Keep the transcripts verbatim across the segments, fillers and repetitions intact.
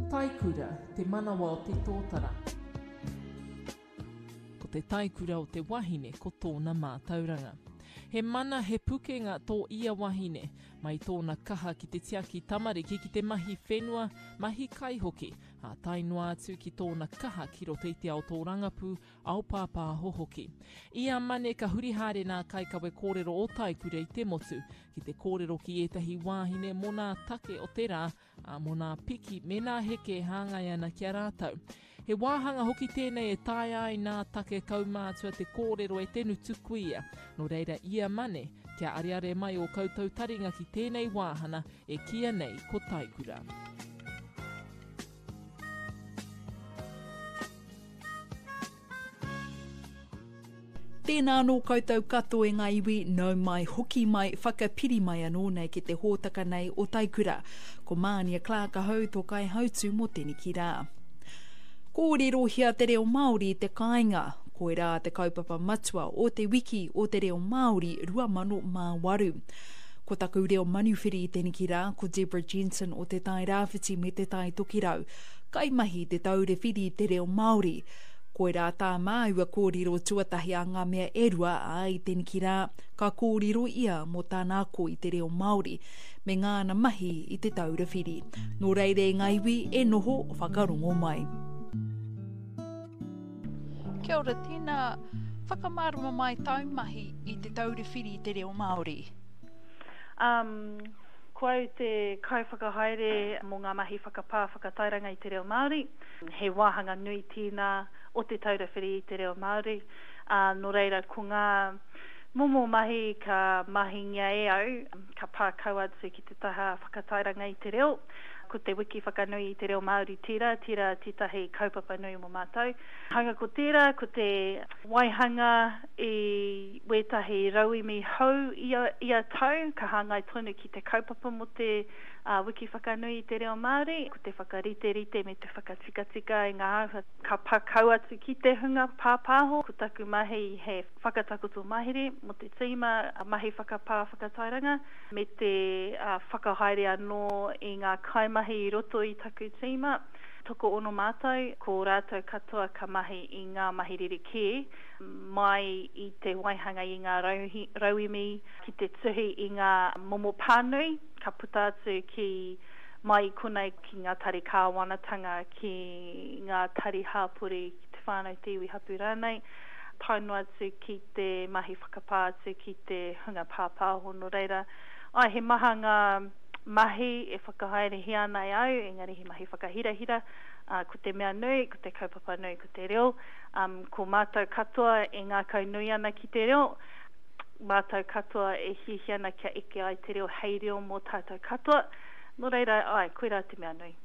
Taikura, te manawa o te tōtara. Ko te taikura o te wahine ko tōna mātauranga. He mana, he pukenga tō ia wahine, mai tōna kaha ki te tiaki tamariki ki te mahi whenua, mahi kai hoki, ā tae noa atu ki tōna kaha ki roto i te ao tōrangapū, ao pāpāho hoki. Ia Mane ka huri haere nā kaikawe kōrero o Taikura i te motu, ki te kōrero ki ētahi wāhine mō nā take o te rā, ā, mō nā piki me nā heke e hāngai ana ki a rātou. He wāhanga hoki tēnei e taea ai nā take kaumātua te kōrero e te ngutu kuia. Nō reira ia Mane, kia areare mai ō koutou taringa ki tēnei wāhana e kīia nei ko Taikura. Tēnā anō koutou katoa e ngā iwi, nau mai, hoki mai, whakapiri mai anō nei ki te hōtaka nei o Taikura. Ko Mānia Clark ahau tō kaihautū mō teneki rā. Kōrerohia te reo Māori i te kāinga, koirā te kaupapa matua o te wiki o te reo Māori rua mano mā waru. Ko taku reo manuwhiri i teneki rā, ko Deborah Jensen o Te Tai Rāwhiti me Te Tai Tokerau, kaimahi i Te Taure Whiri i te Reo Māori. Koirā tā māua kōrero tuatahi a ngā mea e rua, ā, i teneki rā, ka kōrero ia mō tāna ako i te reo Māori me ngāna mahi i Te Taura Whiri. Nō reira e ngā iwi e noho whakarongo mai. Kia ora, tēnā, whakamārama mai tāu mahi i Te Taura Whiri i te Reo Māori. Um, ko au te kaiwhakahaere mō ngā mahi whakapā whakatairanga i te reo Māori. He wāhanga nui tēnā o Te Taura Whiri i te Reo Māori. Ā, nō reira, ko ngā momo mahi ka mahingia e au, ka pā kau atu ki te taha whakatairanga i te reo. Ko te wiki whakanui i te reo Māori tērā, tērā tētahi kaupapa nui mō mātou. Hanga ko tērā, ko te waihanga i wētahi rauemi hou ia, ia tau, ka hāngai tonu ki te kaupapa mō te uh, wiki whakanui i te reo Māori, ko te whakariterite me te whakatikatika i ngā āhua ka pā kau atu ki te hunga pāpāho. Ko taku mahi he whakatakoto mahere mō te tīma mahi whakapā whakatairanga me te uh, whakahaere anō i ngā kaimahi i roto i taku tīma. Tokoono mātou, ko rātou katoa ka mahi i ngā mahi rerekē mai i te waihanga i ngā rauemi ki te tuhi i ngā momo pānui, ka puta atu ki mai i konei ki ngā tari kāwanatanga, ki ngā tari hāpori, ki te whānau te iwi hapū rānei, tae noa atu ki te mahi whakapā atu ki te hunga pāpāho. Nō reira, ai, he maha ngā mahi e whakahaerehia ana e au, engari he mahi whakahirahira. Uh, ko te mea nui, ko te kaupapa nui, ko te reo. Um, ko mātou katoa e ngākau nui ana ki te reo, mātou katoa e hiahia ana kia eke ai te reo hei reo mō tātou katoa. Nō reira, ai, koirā te mea nui.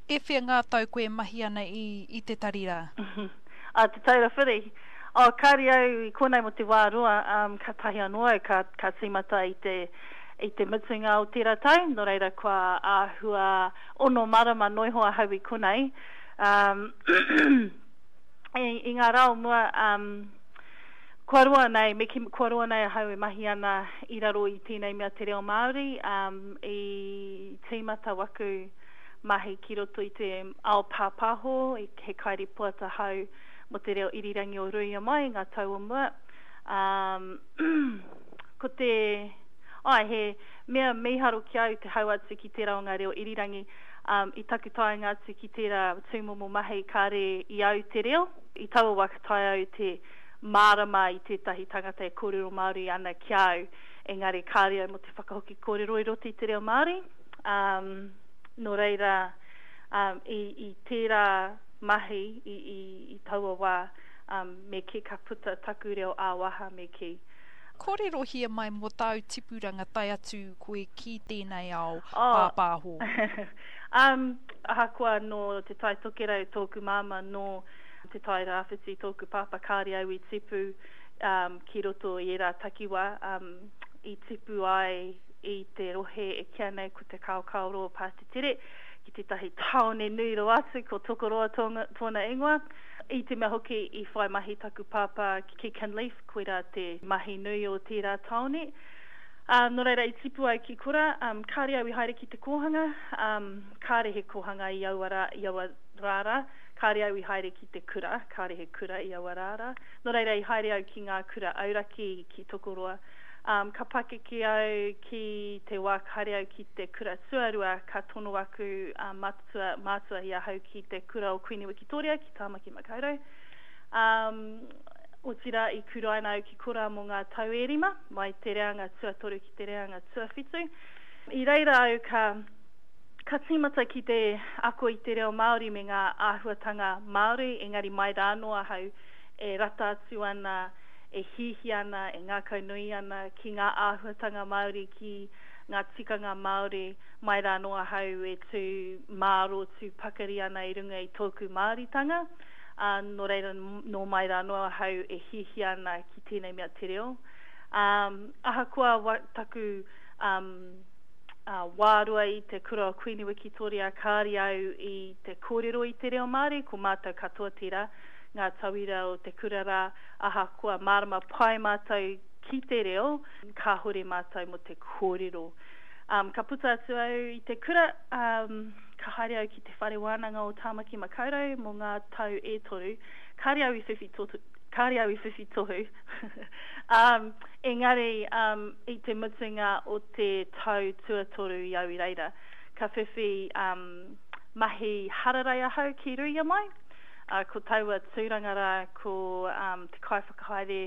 E whia ngā tau koe e mahi ana i, i te tari rā? A, Te Taura Whiri. Oh, kāre au i konei mō te wā roa, um, ka tahi anō au, ka, ka tīmata i te, i te mutunga o tērā tau, nō reira kua āhua ono marama noa iho ahau i konei. Um, i, i ngā rā o mua, um, kua roa nei, me ki, kua roa nei ahau e mahi ana i raro i tēnei mea te reo Māori, um, i tīmata waku mahi ki roto i te ao pāpāho, he kairipoata hau mō te reo irirangi o Ruia Mai ngā tau o mua. Um, ko te, ai, he mea mīharo ki au te hau atu ki tērā o ngā reo irirangi. Um, i taku taenga atu ki tērā tūmomo mahi kāre i au te reo. I taua wā ka taea au te mārama i tētahi tangata e kōrero Māori ana ki au, engari kāre au mō te whakahoki kōrero i roto i te reo Māori. Um, nō reira, um, i, i tērā mahi i, i, i taua wā, um, me kī ka puta taku reo ā-waha me kī. Kōrerohia mai mō tāu tipuranga tae atu koe ki tēnei ao oh. pāpāho. um, ahakoa nō Te Tai Tokerau tōku māma, nō Te Tai Rāwhiti tōku pāpā, kāre au i tipu um, ki roto i ērā takiwā, um, i tipu ai i te rohe e kīa nei ko Te Kaokaoroa Pātetere, ki tētahi tāone nui rawa atu, ko Tokoroa tōna, tōna ingoa. I te mea hoki i whai mahi taku pāpā ki Kinleith, koirā te mahi nui o tērā tāone. Um, nō reira, i tipu au ki kura, um, kāre au i haere ki te kōhanga, um, kāre he kōhanga i aua rā, i aua rā rā, kāre au i haere ki te kura, kāre he kura i aua rā rā. Nō reira, i haere au ki ngā kura auraki ki Tokoroa. Um, ka pakeke au ki te wā ka haere au ki te kura tuarua, ka tono aku uh, matua, mātua i ahau ki te kura o Kuini Wikitoria ki Tāmaki Makaurau. Um, otirā i kuraina au ki korā mō ngā tau e rima, mai te reanga tuatoru ki te reanga tuawhitu. I reira au ka, ka tīmata ki te ako i te reo Māori me ngā āhuatanga Māori, engari mai rānō ahau e rata atu ana, e hiahia ana, e ngākaunui ana ki ngā āhuatanga Māori, ki ngā tikanga Māori, mai rānō ahau e tū māro, tū pakari ana i runga i tōku Māoritanga. Uh, nō reira, nō mai rānō ahau e hiahia ana ki tēnei mea te reo. Um, ahakoa wa, taku um, uh, wārua i te kura o Kuini Wikitoria, kāre au i te kōrero i te reo Māori, ko mātou katoa tērā, ngā tauira o te kura rā, ahakoa mārama pai mātou ki te reo, kāhore mātou mō te kōrero. Um, ka puta atu au i te kura, um, ka haere au ki te whare wānanga o Tāmaki Makaurau mō ngā tau e toru. Kāre au i whiwhi tohu, kāre au i whiwhi tohu. um, engari um, i te mutunga o te tau tuatoru i au i reira, ka whiwhi um, mahi hararei ahau ki Ruia Mai. Uh, ko taua tūranga rā, ko um, te kaiwhakahaere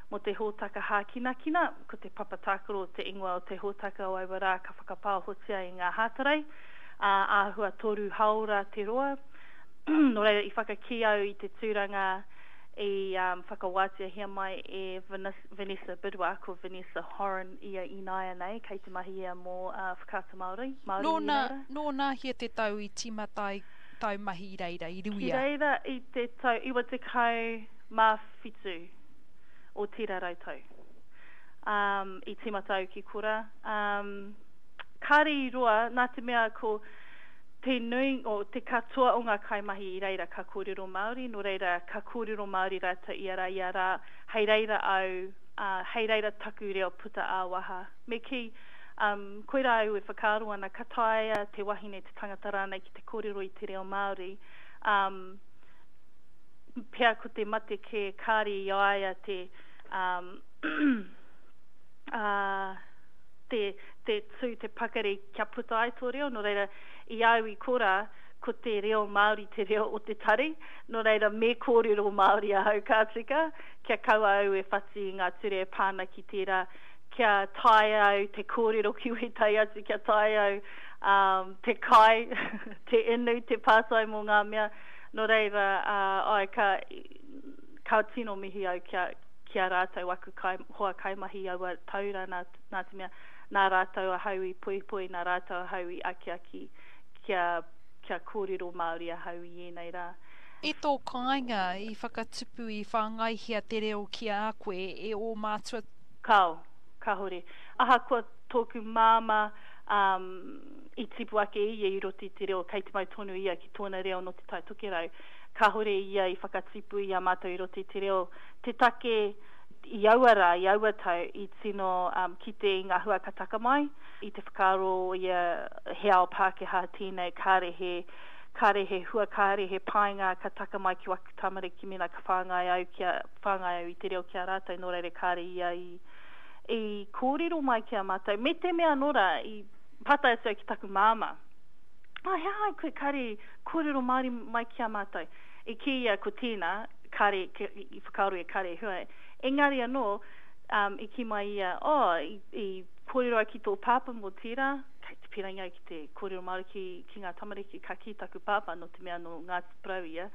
mō te hōtaka hākinakina, ko te papa tākaro te ingoa o te hōtaka o aua rā ka whakapāhotia i ngā Hātarei, uh, āhua toru haora te roa. Nō reira, i whakakī au i te tūranga i um, whakawāteahia mai e Vanessa Bidwa, ko Vanessa Horan ia ināianei, kei te mahi ia mō uh, Whakaata Māori. Māori Nō nā, nō nā hia te tau i tīmata ai tau mahi i reira, i Ruia? Ki reira i te tau iwa tekau mā whitu o tērā rautau. Um, i tīmata au ki kura. Um, kāre i roa, nā te mea ko te nui, o te katoa o ngā kaimahi i reira ka kōrero Māori, nō reira ka kōrero Māori rātou ia rā, ia rā, hei reira au, uh, hei reira taku reo puta ā-waha. Me kī, um, koirā au e whakaaro ana, ka taea te wahine te tangata rānei ki te kōrero i te reo Māori, um, pea ko te mate kē kāre i a ia te, um, uh, te, te tū, te pakari kia puta ai tō reo, nō reira i au i korā, ko te reo Māori te reo o te tari, nō reira me kōrero Māori ahau ka tika, kia kaua au e whati i ngā ture e pāna ki tērā, kia taea au te kōrero ki wētahi atu, kia taea au um, te kai, te inu, te pātai mō ngā mea, nō reira, uh, ai, ka, ka tino mihi au kia, ki a rātou aku kai, hoa kaimahi aua taura nā, nā te mea, nā rātou ahau i poipoi, nā rātou ahau i akiaki kia, kia kōrero Māori ahau i ēnei rā. I tō kāinga i whakatupu i whāngaihia te reo ki a koe e ō mātua? Kāo, kāhore. Ahakoa tōku māmā um, i tipu ake ia i roto i te reo, kei te mau tonu ia ki tōna reo nō te Tai Tokerau. Kāhore ia i whakatipu i a mātou i roto i te reo. Te take i aua rā, i aua tau, i tino um, kite i ngā hua ka taka mai, i te whakaaro ia he ao Pākehā tēnei, kāre he, kāre he hua, kāre he painga ka taka mai ki waku tamariki mena ka whāngai au, kia, whāngai au i te reo ki a rātou, nō reira kāre ia i, i kōrero mai ki a mātou. Me te mea anō rā, i pātai atu au ki taku māmā, ah, he aha ai koe kāre kōrero Māori mai ki a mātou? I kī ia ko tēnā, kāre, i whakaaro e kāre hua. Engari anō, um, i kī mai ia, oh, i, i kōrero au ki tō pāpā mō tērā, kei te pīrangi au ki te kōrero Māori ki, ki ngā tamariki, ka kī taku pāpā nō te mea nō Ngāti Porou ia,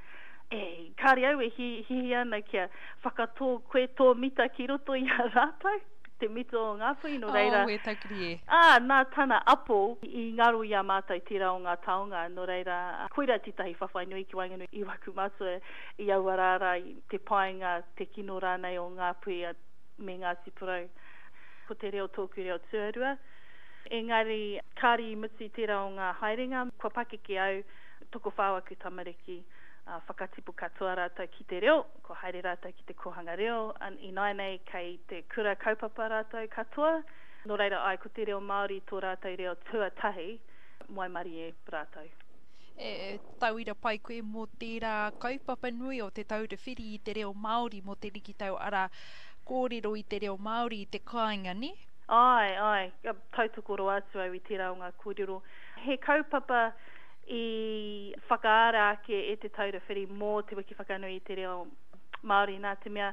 e, kāre au e hiahia ana kia whakatō koe tō mita ki roto i a rātou, te mita o Ngāpuhi, nō reira. Oh, e taukiri e. Ā, nā tana apo i ngaro i a mātou tērā o ngā taonga, nō reira, koirā tētahi whawhai nui ki waenganui i waku mātua i aua rā rā, i te painga, te kino rānei o Ngāpuhi me Ngāti Porou. Ko te reo tōku reo tuarua. Engari, kāre i mutu tērā o ngā haerenga, kua pakeke au, tokowhā aku tamariki, uh, whakatipu katoa rātou ki te reo, kua haere rātou ki te kōhanga reo, ināianei kei te kura kaupapa rātou katoa, Nō reira, ai, ko te reo Māori tō rātou reo tuatahi, waimarie rātou. E tauira pai koe mō tērā kaupapa nui o Te Taura Whiri i te reo Māori mō te rikitau ara kōrero i te reo Māori i te kāinga, nē? Ai, ai, tautoko roa atu au i tērā o ngā kōrero. He kaupapa i whakaara ake e Te Taura Whiri mō te Wiki Whakanui i te Reo Māori nā te mea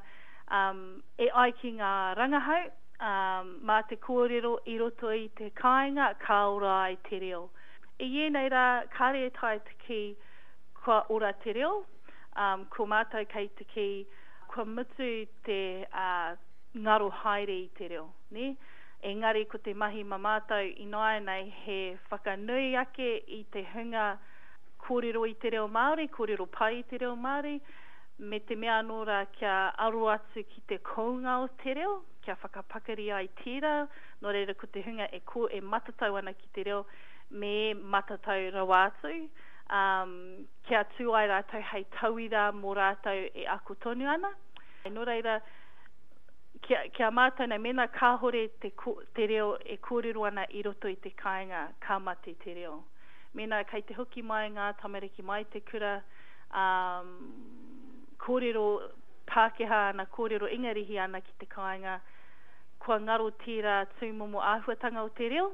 um, e ai ki ngā rangahau, um, mā te kōrero i roto i te kāinga, ka ora ai te reo. I ēnei rā, kāre e taea te kī kua ora te reo, um, ko mātou kei te kī kua mutu te uh, ngaro haere i te reo. Ne? Engari ko te mahi ma mātou ināianei he whakanui ake i te hunga kōrero i te reo Māori, kōrero pai i te reo Māori, me te mea anō rā kia aro atu ki te kounga o te reo, kia whakapakari ai tērā, nō reira ko te hunga e, ko, e matatau ana ki te reo, me matatau rawa atu, um, kia tū ai rātou hei tauira mō rātou e ako tonu ana. Nō reira, kia, kia mātou nei, mēnā kāhore te, te reo e kōrero ana i roto i te kāinga, ka mate te reo. Mēnā kei te hoki mai ngā tamariki mai te kura, um, kōrero Pākehā ana, kōrero Ingarihi ana ki te kāinga, kua ngaro tērā tūmomo āhuatanga o te reo,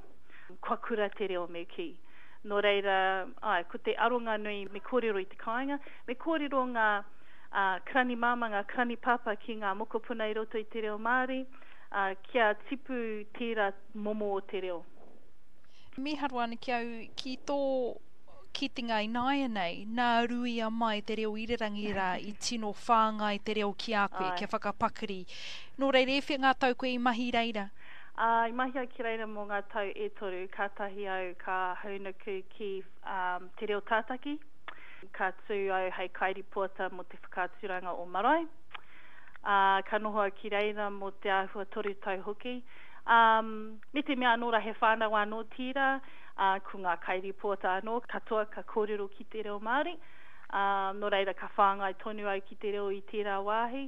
kua kura te reo me kī. Nō reira, ai, ko te aronga nui me kōrero i te kāinga, me kōrero ngā uh, karani māmā, ngā karani pāpā ki ngā mokopuna i roto i te reo Māori, uh, kia tipu tērā momo o te reo. Mīharo ana ki au ki tō kitenga ināianei, nā ruia mai te reo irirangi rā i tino whāngai te reo ki a koe, kia whakapakari. Nō reira, e whea ngā tau koe i mahi reira? Uh, i mahi au ki reira mō ngā tau e toru, kātahi au ka haunuku ki um, te reo tātaki. Ka tū au hei kairipoata mō te whakaaturanga o Marae. Uh, ka noho au ki reira mō te āhua toru tau hoki. Um, me te mea anō rā he whānau anō tērā, uh, ko ngā kairipoata anō, katoa ka kōrero ki te reo Māori. Um, nō reira ka whāngai tonu au ki te reo i tērā wāhi.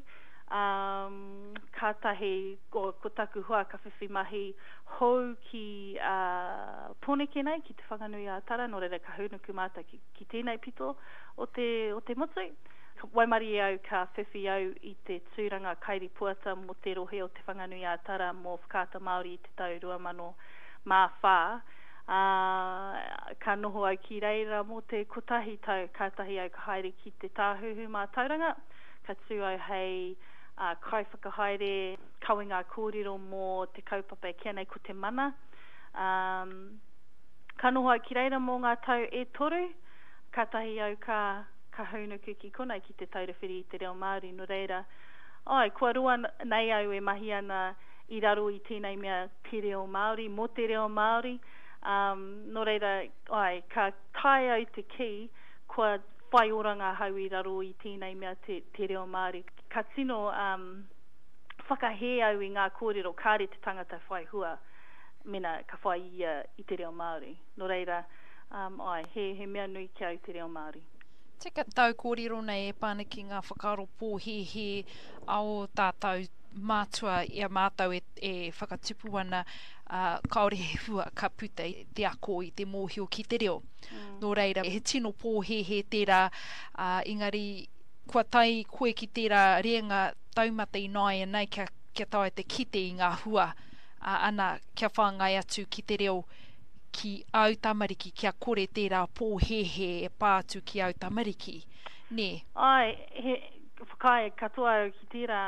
Um, kātahi ko, ko taku hoa ka whiwhi mahi hou ki uh, Pōneke nei, ki Te Whanganui a Tara, nō reira ka hūnuku mātou ki, ki tēnei pito o te, o te motu. Waimarie au ka whiwhi au i te tūranga kairipoata mō te rohe o Te Whanganui a Tara mō Whakaata Māori i te tau rua mano mā whā. Uh, ka noho au ki reira mō te kotahi tau, kātahi au ka haere ki te Tāhuhu Mātauranga, ka tū au hei uh, kaiwhakahaere kawenga kōrero mō te kaupapa e kīia nei ko te mana. Um, ka noho au ki reira mō ngā tau e toru, kātahi au ka, ka hūnuku ki konei ki Te Taura Whiri i te Reo Māori. Nō reira, ai, kua roa nei au e mahi ana i raro i tēnei mea te reo Māori, mō te reo Māori. Um, nō reira, ai, ka taea au te kī, kua whai oranga ahau i raro i tēnei mea te, te reo Māori. Ka tino um, whakahē au i ngā kōrero kāre te tangata whai hua mena ka whai ia i te reo Māori. Nō reira, um, ai, he, he mea nui ki au te reo Māori. Tika tau kōrero nei e pāna ki ngā whakaaro pōhēhē a o tātou mātua i a mātou e, e whakatupu ana, uh, kāore he hua ka puta i te ako i te mōhio ki te reo. Mm. Nō reira, he tino pōhēhē tērā, uh, engari kua tae koe ki tērā reanga taumata ināianei kia, kia taea te kite i ngā hua, uh, ana kia whāngai atu ki te reo ki au tamariki, kia kore tērā pōhēhē e pā atu ki au tamariki, nē? Ai, he whakaae katoa au ki tērā.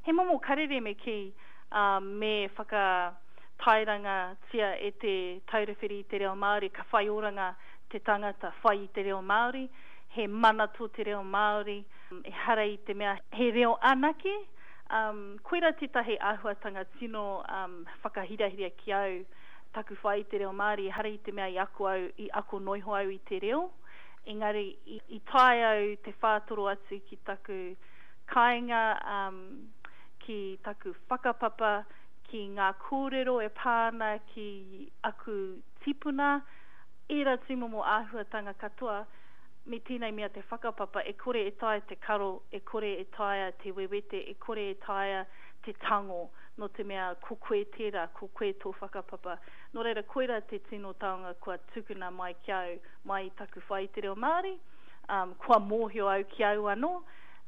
He momo karere me kī, um, me whakatairangatia e te Taura Whiri i te reo Māori, ka whai oranga te tangata whai i te reo Māori, he mana tō te reo Māori, ehara i te mea he reo anake. Um, koira tētahi āhuatanga tino um, whakahirahira ki au taku whai i te reo Māori, ehara i te mea i ako au, i ako noiho au i te reo, engari i, i tae au te whātoro atu ki taku kāinga, um, ki taku whakapapa, ki ngā kōrero e pā ana ki aku tipuna, ērā tūmomo āhuatanga katoa, me tēnei mea te whakapapa, e kore e taea te karo, e kore e taea te wewete, e kore e taea te tango. Nō te mea ko koe tērā, ko koe tō whakapapa. Nō reira, koirā te tino taonga kua tukuna mai ki au, mai i taku whai i te reo Māori. Um, kua mōhio au ki au anō.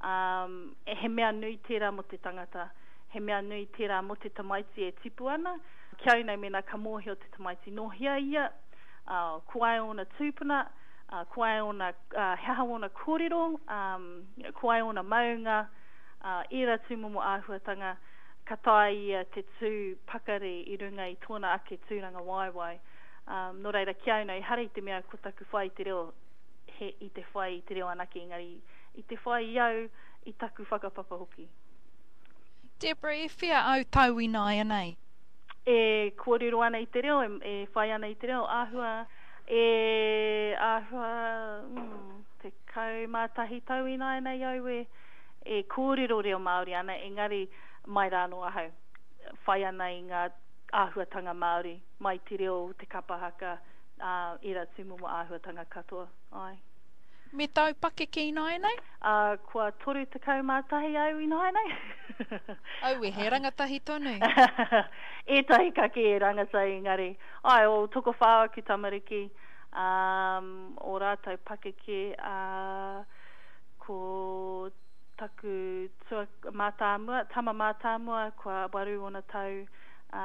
Um, he mea nui tērā mō te tangata. He mea nui tērā mō te tamaiti e tipu ana. Ki au nei mēnā ka mōhio te tamaiti nō hea ia, uh, ko wai ōna tūpuna, uh, ko wai ōna, uh, he aha ōna kōrero, um, ko wai ōna maunga, uh, ērā tūmomo āhuatanga, ka taea ia te tū pakari i runga i tōna ake tūrangawaewae. Um, nō reira, ki au nei, ehara i te mea ko taku whai i te reo, he i te whai i te reo anake, engari i te whai i au, i taku whakapapa hoki. Deborah, e whea au tau ināianei? E kōrero ana i te reo, e, e whai ana i te reo, āhua, e āhua, mm, tekau mā tahi tau ināianei au e, e kōrero reo Māori ana, engari mai rā anō ahau, whai ana i ngā āhuatanga Māori, mai te reo, te kapa haka, ā, ērā tūmomo āhuatanga katoa, āe. Me tāu pakeke ināianei? Ā, kua toru tekau mā tahi au ināianei. Aue, he rangatahi tonu. Ētahi ka kī he rangatahi engari, āe, o tokowhā aku tamariki, ā, ō rātou pakeke, ā, ko taku tua, mātāmua, tama mātāmua, kua waru ōna tau, ā,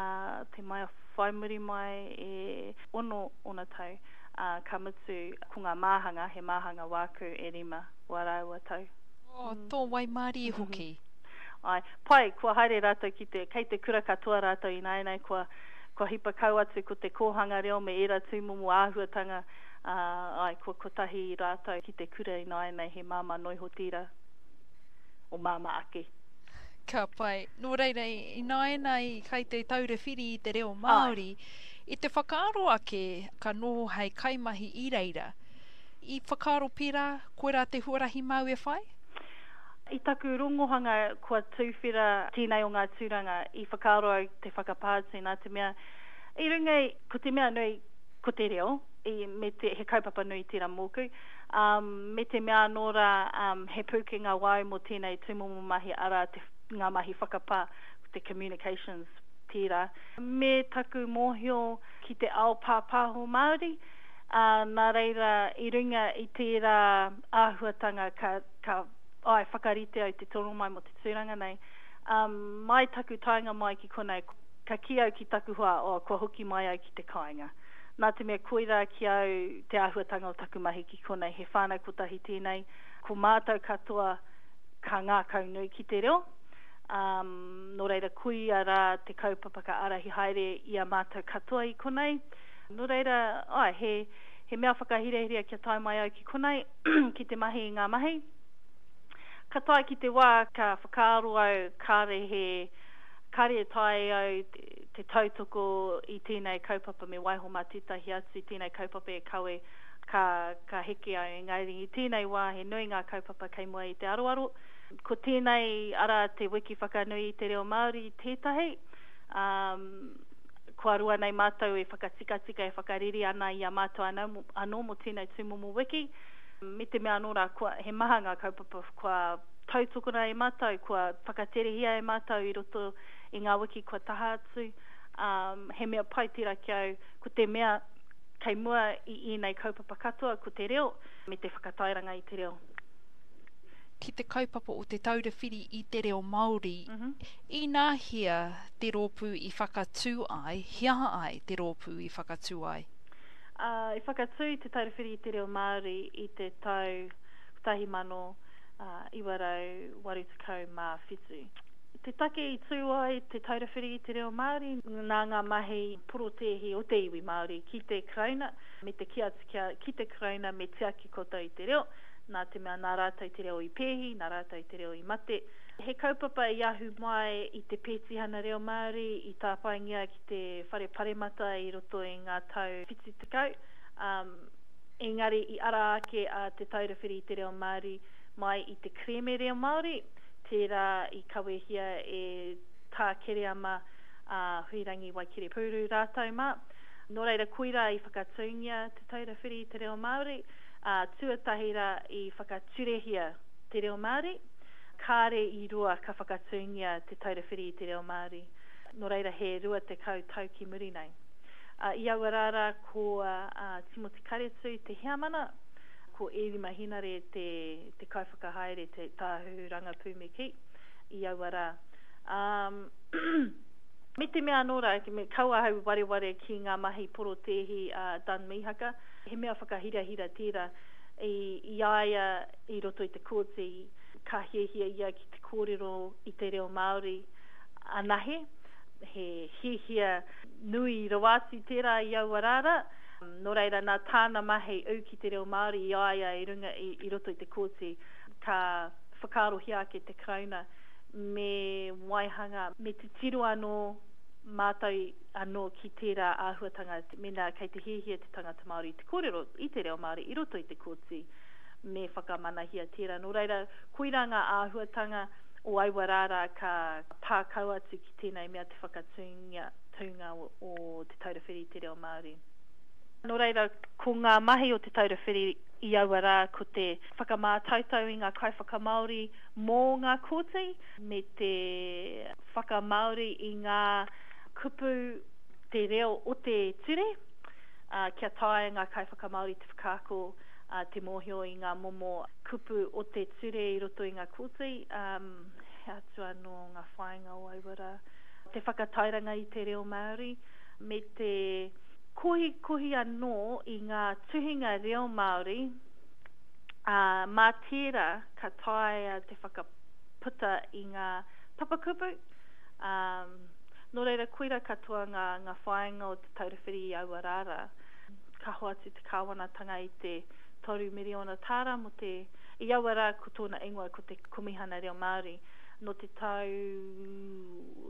te maia whai muri mai e ono ōna tau, ā, ka mutu ko ngā māhanga, he māhanga wāku e rima wā rāua tau. Oh, tō waimarie hoki. Āe, pai, kua haere rātou ki te, kei te kura katoa rātou ināianei, kua, kua hipa kau atu ko te kōhanga reo me ērā tūmomo āhuatanga, ā, āe, kua kotahi rātou ki te kura ināianei, he māmā noa iho tērā. O māmā ake. Ka pai. Nō reira, ināianei kai te taura whiri i te reo Māori, i te whakaaro ake ka noho hei kaimahi i reira. I whakaaro pērā, koirā te huarahi māu e whai? I taku rongohanga kua tuwhera tēnei o ngā tūranga, i whakaaro au te whakapā atu nā te mea, i runga i, ko te mea nui, ko te reo, i, me te, he kaupapa nui tērā mōku, um, me te mea anō rā, um, he pūkenga wāu mō tēnei tūmomo mahi, arā, te, ngā mahi whakapā, te communications tērā. Me taku mōhio ki te ao pāpāho Māori, ā, nā reira, i runga i tērā āhuatanga ka, ka, āe, whakarite au te tono mai mō te tūranga nei. Um, mai taku taenga mai ki konei, ka kī au ki taku hoa, oh, kua hoki mai au ki te kāinga. Nā te mea koirā ki au te āhuatanga o taku mahi ki konei, he whānau kotahi tēnei, ko mātou katoa ka ngākaunui ki te reo, um, nō reira koia rā te kaupapa ka ārahi haere i a mātou katoa i konei. Nō reira, āe, he, he mea whakahirahira kia tae mai au ki konei, ki te mahi i ngā mahi. Ka tae ki te wā ka whakaaro au kāre he, kāre e taea au te tautoko i tēnei kaupapa me waiho mā tētahi atu tēnei kaupapa e kawe ka, ka heke au. Engari i tēnei wā he nui ngā kaupapa kei mua i te aroaro. Ko tēnei ara te wiki whakanui i te reo Māori tētahi. Um, kua roa nei mātou e whakatikatika, e whakarere ana i a mātou anō, anō mō tēnei tūmomo wiki. Me te mea anō rā, kua, he maha ngā kaupapa kua tautokona e mātou, kua whakaterehia e mātou i roto i ngā wiki kua taha atu. Um, he mea pai tērā ki au, ko te mea kei mua i ēnei kaupapa katoa, ko te reo, me te whakatairanga i te reo. Ki te kaupapa o Te Taura Whiri i te Reo Māori, mm -hmm. inahea te rōpū i whakatū ai, he aha ai te rōpū i whakatū ai? Uh, i whakatū Te Taura Whiri i te Reo Māori i te tau kotahi mano iwa rau waru tekau mā whitu. Te take i tū ai Te Taura Whiri i te Reo Māori nā ngā mahi porotēhi o te iwi Māori ki te Karauna, me te kī atu kia, ki te Karauna me tiaki koutou i te reo, nā te mea nā rātou te reo i pēhi, nā rātou te reo i mate. He kaupapa i ahu mai i te pētihana reo Māori i tāpaengia ki te whare paremata i roto i ngā tau whitu tekau, um, engari i ara ake a Te Taura Whiri i te Reo Māori mai i te kerēme reo Māori, tērā i kawehia e Tā Kereama a Huirangi Waikerepūru rātou mā. Nō reira, koirā i whakatūngia Te Taura Whiri i te Reo Māori, ā, tuatahi rā i whakaturehia te reo Māori, kāre i roa ka whakatūngia Te Taura Whiri i te Reo Māori. Nō reira he rua tekau tau ki muri nei. Uh, I aua rā rā ko uh, Timoti Karetu te heamana, ko Ērima Henare te, te kaiwhakahaere, te tāhuhu rangapū me kī, i aua rā. Um, me te mea anō rā, me kaua ahau wareware ki ngā mahi porotēhi a uh, Dun Mihaka, he mea whakahirahira tērā i, i a ia i roto i te kōti, ka hiahia ia ki te kōrero i te reo Māori anahe, he hiahia nui rawa atu tērā i aua rā rā. Nō reira, nā tāna mahi ū ki te reo Māori i a ia i runga i, i roto i te kōti, ka whakaarohia ake te Karauna me waihanga, me titiro anō mātou anō ki tērā āhuatanga, mēnā kei te hiahia te tangata Māori te kōrero i te reo Māori i roto i te kōti, me whakamanahia tērā. Nō reira, koirā ngā āhuatanga o aua rā rā ka pā kau atu ki tēnei mea te whakatūnga tūnga o, o Te Taura Whiri i te Reo Māori. Nō reira, ko ngā mahi o Te Taura Whiri i aua rā ko te whakamātautau i ngā kaiwhakamāori mō ngā kōti, me te whakamāori i ngā kupu te reo o te ture, uh, kia taea ngā kaiwhakamāori te whakaako uh, te mōhio i ngā momo kupu o te ture i roto i ngā kōti, um, he atu anō ngā whāinga o aua rā. Te whakatairanga i te reo Māori, me te kohikohi anō i ngā tuhinga reo Māori, uh, mā tērā ka taea te whakaputa i ngā papakupu. Um, nō reira, koira katoa ngā, ngā whāinga o Te Taura Whiri i aua rā rā. Ka hoatu te kāwanatanga i te toru miriona tāra mō te, i aua rā ko tōna ingoa ko te Komihana Reo Māori. Nō te tau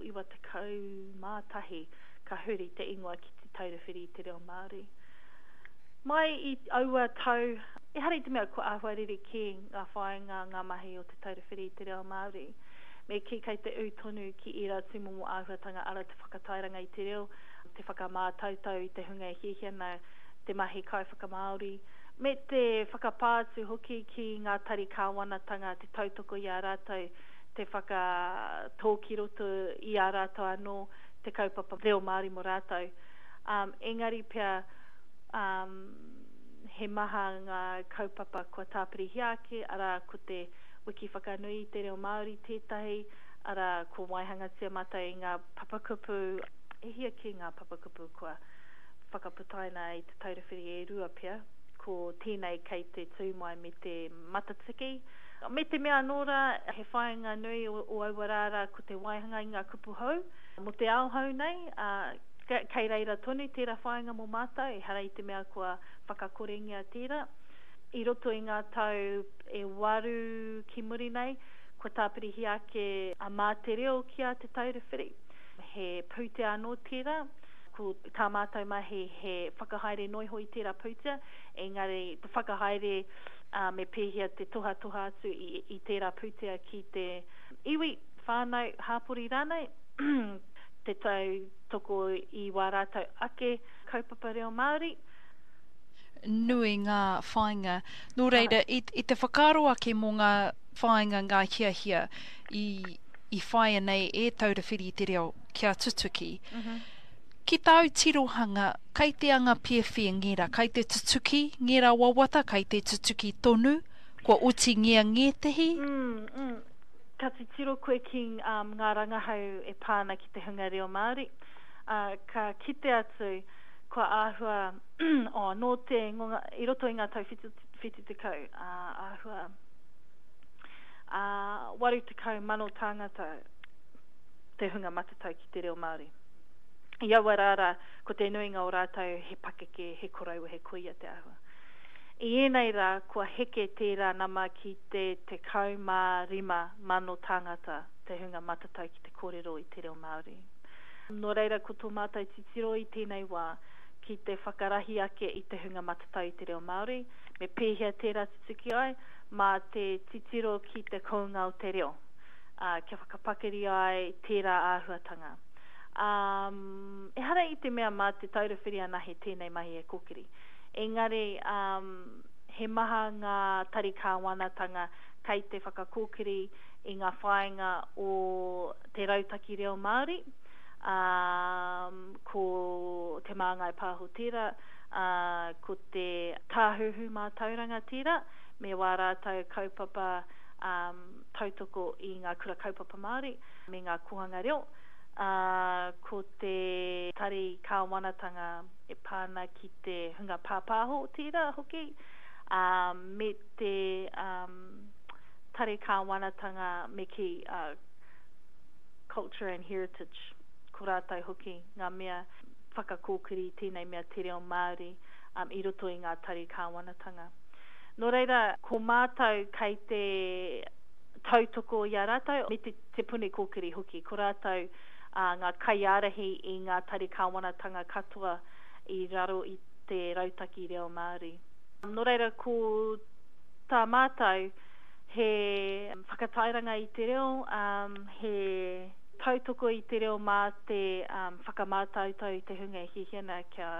iwa tekau mā tahi ka huri te ingoa ki Te Taura Whiri i te Reo Māori. Mai i aua tau, ehara i te mea kua āhua rerekē ngā whāinga, ngā mahi o Te Taura Whiri i te Reo Māori. Me kī kei te ū tonu ki ērā tūmomo āhuatanga ara te whakatairanga i te reo, te whakamātautau i te hunga e hiahia ana te mahi kaiwhakamāori, me te whakapā atu hoki ki ngā tari kāwanatanga, te tautoko i a rātou, te whakatō ki roto i a rātou anō te kaupapa reo Māori mō rātou. Um, engari pea um, he maha ngā kaupapa kua tāpirihia ake, arā ko te wiki whakanui i te reo Māori tētahi, arā ko waihangatia mātou i ngā papakupu, e hia kē ngā papakupu kua whakaputaina i Te Taura Whiri e rua pea, ko tēnei kei te tū mai me te matatiki. Me te mea anō rā, he whāinga nui o, o aua rā rā ko te waihanga i ngā kupu hou, mō te ao hou nei, uh, kei reira tonu tērā whāinga mō mātou, ehara i te mea kua whakakorengia tērā. I roto i ngā tau e waru ki muri nei, kua tāpirihia ake a Mā Te Reo ki a Te Taura Whiri. He pūtea anō tērā, ko tā mātou mahi he whakahaere noiho i tērā pūtea, engari te whakahaere uh, me pēhea te tohatoha atu i, i tērā pūtea ki te iwi, whānau, hāpori rānei, te tautoko i wā rātou ake kaupapa reo Māori. Nui ngā whāinga. Nō reira, i, i te whakaaro ake mō ngā whāinga, ngā hiahia i, i whāia nei e Taura Whiri i te Reo kia tutuki. Mm-hmm. Ki tāu tirohanga, kei te anga piawhia ngēra, kei te tutuki ngēra wawata, kei te tutuki tonu, kua oti ngea ngētehi? Mm, mm. Ka titiro koe ki um, ngā rangahau e pā ana ki te hunga reo Māori, uh, ka kite atu kua āhua, oh, nō te, i roto i ngā tau whitu, whitu tekau, uh, āhua uh, waru tekau mano tāngata te hunga matatau ki te reo Māori. I aua rā rā, ko te nuinga o rātou he pakeke, he koroua, he kuia te āhua. I ēnei rā, kua heke tērā nama ki te tekau mā rima mano tāngata te hunga matatau ki te kōrero i te reo Māori. Nō reira, ko tō mātou titiro i tēnei wā ki te whakarahi ake i te hunga matatau i te reo Māori, me pēhea tērā tutuki ai, mā te titiro ki te kounga o te reo, uh, kia whakapakari ai tērā āhuatanga. Um, ehara i te mea mā Te Taura Whiri anahe tēnei mahi e kōkiri. Engari, um, he maha ngā tari kāwanatanga kei te whakakōkiri i ngā whāinga o te rautaki reo Māori, Um, ko Te Māngai Pāho tērā, uh, ko te Tāhuhu Mātauranga tērā, me wā rātou kaupapa um, tautoko i ngā kura kaupapa Māori me ngā kōhanga reo. Uh, ko te tari kāwanatanga e pā ana ki te hunga pāpāho tērā hoki, uh, me te um, tari kāwanatanga me ki uh, Culture and Heritage, ko rātou hoki ngā mea whakakōkiri tēnei mea te reo Māori um, i roto i ngā tari kāwanatanga. Nō reira, ko mātou kei te tautoko i a rātou, me te, te Puni Kōkiri hoki, ko rātou uh, ngā kaiārahi i ngā tari kāwanatanga katoa i raro i te rautaki reo Māori. Nō reira, ko tā mātou he whakatairanga i te reo, um, he tautoko i te reo mā te um, whakamātautau i te hunga e hiahia ana kia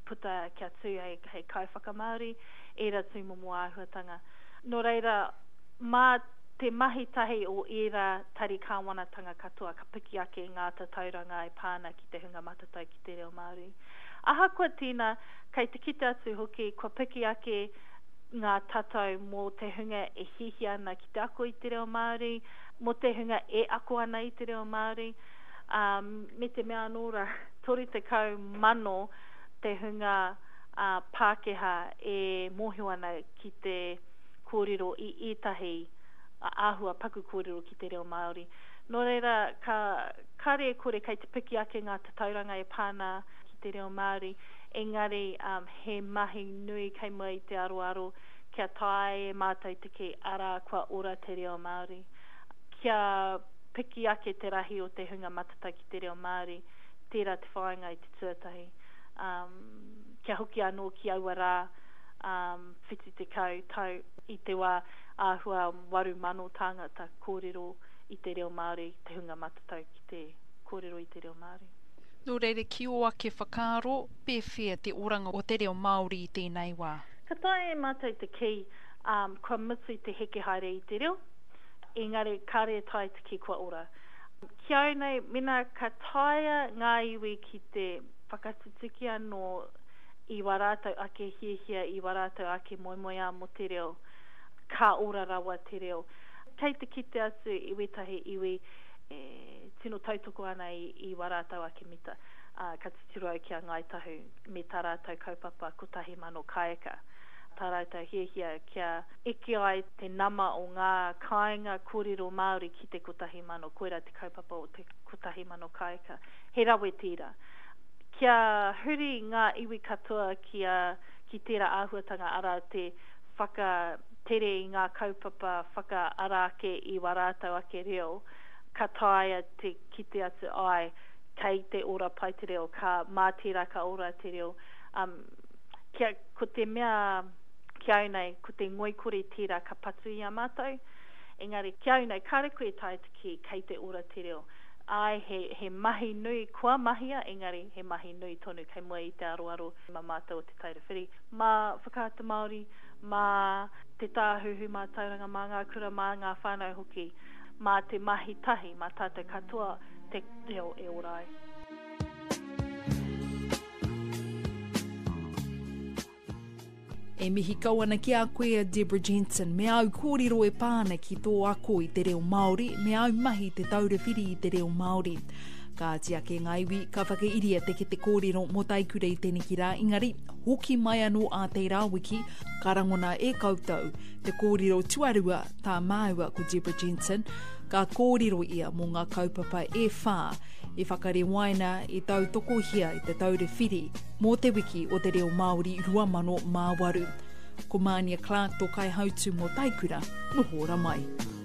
puta, kia tū hei, hei kaiwhakamāori, ērā tūmomo āhuatanga. Nō reira, mā te mahi tahi o ērā tari kāwanatanga katoa ka piki ake ngā tatauranga e pā ana ki te hunga matatau ki te reo Māori. Ahakoa tēnā, kei te kite atu hoki kua piki ake ngā tatau mō te hunga e hiahia ana ki te ako i te reo Māori, mō te hunga e ako ana i te reo Māori, um, me te mea anō rā, toru tekau mano te hunga uh, Pākehā e mōhio ana ki te kōrero i ētahi āhua paku kōrero ki te reo Māori. Nō reira, ka, kare kore kei te piki ake ngā tatauranga e pā ana ki te reo Māori, engari um, he mahi nui kei mua i te aroaro kia taea e mātou te kī arā kua ora te reo Māori. Kia piki ake te rahi o te hunga matatau ki te reo Māori, tērā te whāinga i te tuatahi. Um, kia hoki anō ki aua rā um, whitu tekau tau i te wā āhua waru mano tāngata kōrero i te reo Māori, te hunga matatau ki te kōrero i te reo Māori. Nō reira, ki ō ake whakaaro, pēwhea te oranga o te reo Māori i tēnei wā? Ka taea e mātou te kī, um, kua mutu te heke haere i te reo, engari kāre e taea te kī kua ora. Ki au nei, mena ka taea ngā iwi ki te whakatutuki anō i wā rātou ake hiahia, i wā rātou ake moemoeā mō te reo, ka ora rawa te reo. Kei te kite atu i wētahi iwi e tino tautoko ana i, i wā rātou ake mita. Uh, ka titiro au ki a Ngāi Tahu me tā rātou kaupapa kotahi mano kāika. Tā rātou hiahia kia eke ai te nama o ngā kāinga kōrero Māori ki te kotahi mano, koirā te kaupapa o te kotahi mano kāika. He rawe tērā. Kia huri ngā iwi katoa ki, a, ki tērā āhuatanga arā te whakatere i ngā kaupapa whakaara ake i wā rātou ake reo, ka taea te kite atu ai kei te ora pai te reo, ka mā tērā ka ora te reo. Um, kia, ko te mea ki au nei, ko te ngoikore tērā ka patu i a mātou, engari ki au nei, kāre koe taea te kī kei te ora te reo. Ai, he, he mahi nui kua mahia, engari he mahi nui tonu kei mua i te aroaro mā mātou o Te Taura Whiri. Mā Whakaata Māori, mā te Tāhuhu Mātauranga, mā ngā kura, mā ngā whānau hoki, mā te mahi tahi, mā tātou katoa te reo e ora ai. E mihi kau ana ki a koe a Deborah Jensen, me au kōrero e pā ana ki tō ako i te reo Māori, me au mahi te taura whiri i te reo Māori. Kāti ake ngā iwi, ka whakairia te kete kōrero mō Taikura i teneki rā, engari, hoki mai anō a tērā wiki, ka rangona e koutou te kōrero tuarua tā māua ko Deborah Jensen, ka kōrero ia mō ngā kaupapa e whā i whakarewaina i tautokohia i te taura whiri mō te wiki o te reo Māori rua mano mā waru. Ko Mānia Clark tō kaihautu mō Taikura, noho ora mai.